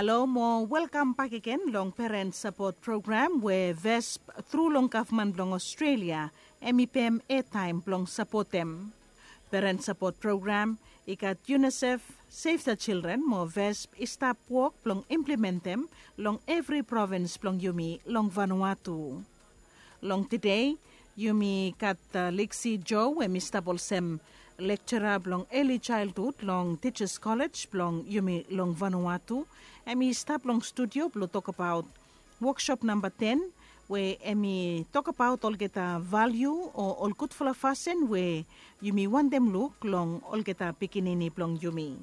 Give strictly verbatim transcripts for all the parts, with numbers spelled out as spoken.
Halo mo welkam bakegen long Parent Support Program we VESP tru long gavman blong Australia hem i pem etaem blong sapotem. Parent Support Program i gat UNICEF, Save the Children mo VESP i stap wok blong implementem long evri provins blong yumi long Vanuatu. Long tede yumi gat Liksi Jo, hem i stap olsem lekjara blong eli jaelhud long Teachers College blong yumi long Vanuatu. Hem i stap long studio blong tokbaot woksop namba ten, we hem i tokbaot olgeta valiu o ol gudfala fasin we yumi wantem luk long olgeta pikinini blong yumi.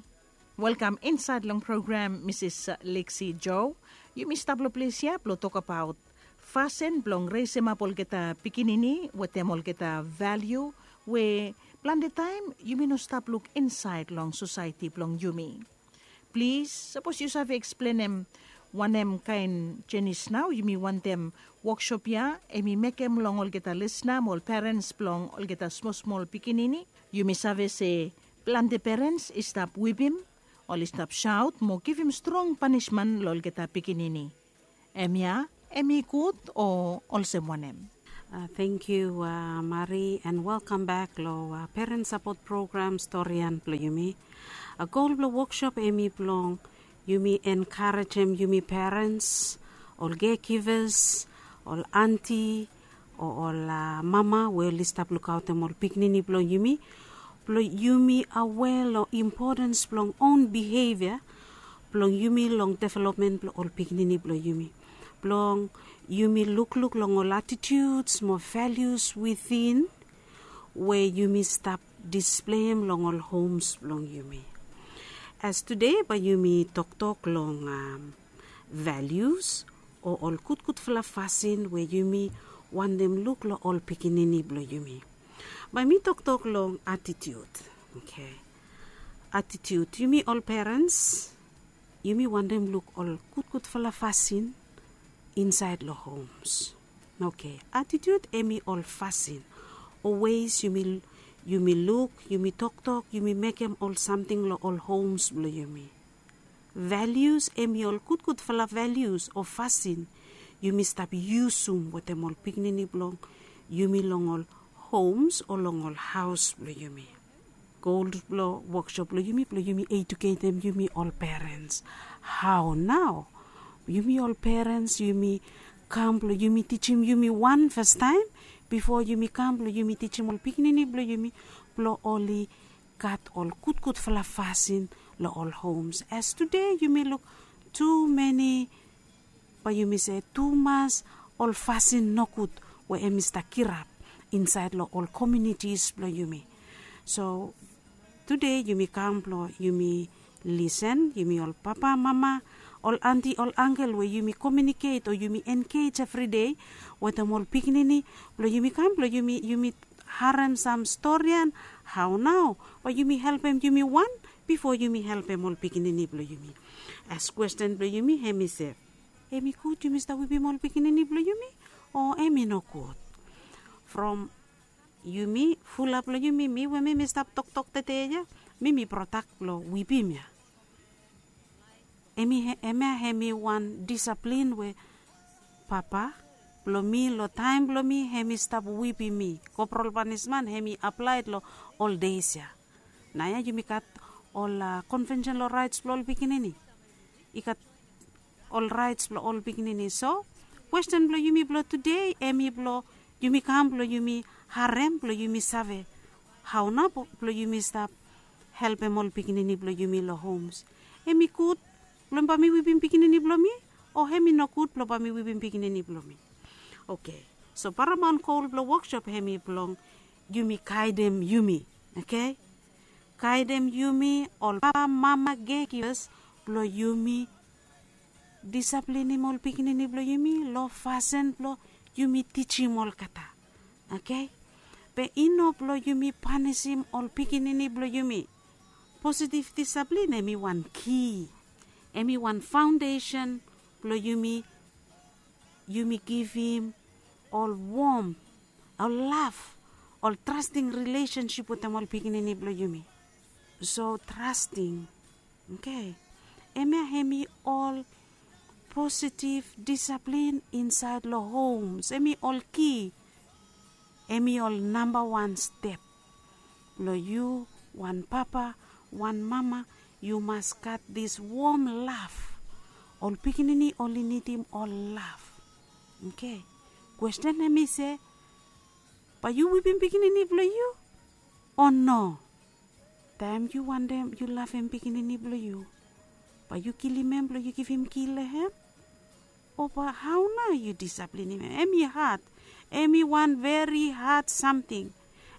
Welkam insaed long program, Misis Liksi Jo. Yumi stap long ples ya blong tokbaot fasin blong resemap olgeta pikinini wetem olgeta valiu we plante taem yumi no stap luk insaed long sosaeti blong yumi. Plis, sapos yu save eksplenem wanem kaen jenis nao yumi wantem woksop ya hem i mekem long olgeta lisna mo ol perens blong olgeta smol smol pikinini, yumi save se plante perens i stap wipim, oli stap saot mo givim strong panisman long olgeta pikinini. Hemia hem i gud o olsem wanem? Thank you, Mari, and welcome back long Parent Support Program storian blong yumi. Gol blong woksop hem i blong yumi enkarejem yumi perens, ol caregivers, ol anti, o ol mama we oli stap lukaotem ol pikinini blong yumi, blong yumi aware long importance blong own behavior blong yumi long development blong ol pikinini blong yumi, blong yumi lukluk long ol attitudes mo values within we yumi stap displeim long ol homes blong yumi. As tude bae yumi toktok long values o ol gudgudfala fasin we yumi wantem luk long ol pikinini blong yumi. Bae mi toktok long attitude. Okay. Attitude, yumi ol perens yumi wantem luk ol gudgudfala fasin insaed long homes. Okay, attitude hem i ol fasin o ways yumi, yumi luk, yumi toktok, yumi mekem ol samting long ol homes blong yumi. Values hem i ol gudgudfala values o fasin yumi stap yusum wetem ol pikinini blong yumi long ol homes o long ol haos blong yumi. Gol blong woksop blong yumi blong yumi eduketem yumi ol perens. Hao nao? Yumi ol perens yumi kam blong yumi tijim yumi wan fastaem bifo yumi kam blong yumi tijim ol pikinini blong yumi blong oli gat ol gudgudfala fasin long ol homes. As tude yumi luk tumeni, bae yumi se tumas ol fasin nogud we hem i stap kirap insaed long ol komiunitis blong yumi. So tude yumi kam blong yumi lisen, yumi ol papa, mama, ol anti, ol angkel we yumi komiuniket o yumi engej evri dei wetem ol pikinini blong yumi kam blong yumi, yumi harem sam storian. Hao nao bae yumi helpem yumi wan bifo yumi helpem ol pikinini blong yumi? As kwesten blong yumi hem i se, hem i gud yumi stap wipim ol pikinini blong yumi o hem i nogud? From yumi, fulap long yumi, mi we mi mi stap toktok tede ya, mi mi protak blong wipim ya. Hemia hem i wan disaplin we papa blong mi long taem blong mi hem i stap wipim mi. Kopral panisman hem i aplaed long ol deis ya. Naoia yumi gat ol konvensen long raets blong ol pikinini. I gat ol raets blong ol pikinini. So kwesten blong yumi blong tude hem i blong yumi kam blong yumi harem blong yumi save hao nao blong yumi stap helpem ol pikinini blong yumi long homes. Hem i gud blong bae mi wipim pikinini blong mi, o hem i nogud blong bae mi wipim pikinini blong mi? Oke. So paramount goal blong woksop hem i blong yumi gaedem yumi. Oke. Gaedem yumi ol papa, mama, caregivers blong yumi disaplinim ol pikinini blong yumi long fasin blong yumi tijim olgeta. Oke. Be i no blong yumi panisim ol pikinini blong yumi. Positiv disaplin hem i wan ki, hem i wan faondesen blong yumi, yumi givim ol wom, ol lav, ol trasting rilesensip wetem ol pikinini blong yumi. So trasting, oke, Hemia hemi ol positive discipline inside long homes. Hemi ol ki, hemi ol namba wan step long yu, wan papa, wan mama, yu mas gat dis wom laf. Ol pikinini oli nidim ol laf. Oke. Kwesten hemi se, bae yu wipim pikinini blong yu o no? Taem yu wantem yu lavem pikinini blong yu, bae yu kilim hem blong yu givim ki long hem? O bae hao nao yu disaplinim hem? Hemi had. Hemi wan veri had samting.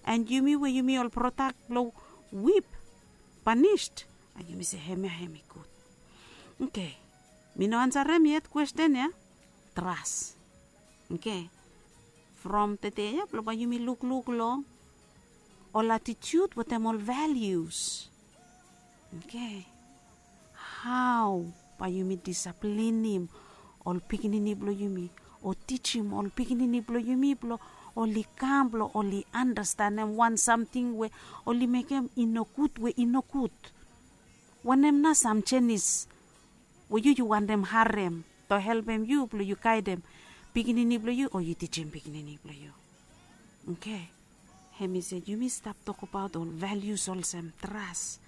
An yumi we yumi ol prodak blong wip, panis, an yumi se hemia hemi gud. Oke. Mi no ansarem yet kwesten ya. Tras. Oke. From tede ya blong bae yumi lukluk long ol atitiut wetem ol valius. Oke. Hao bae yumi disaplinim ol pikinini blong yumi, o tijim ol pikinini blong yumi blong oli kam blong oli andastanem wan samting we oli mekem i nogud, we i nogud? Wanem nao sam jenis we yu yu wantem harem to helpem yu blong yu gaedem pikinini blong yu o yu tijim pikinini blong yu? Oke. Hemi se yumi stap tokbaot ol valius olsem tras,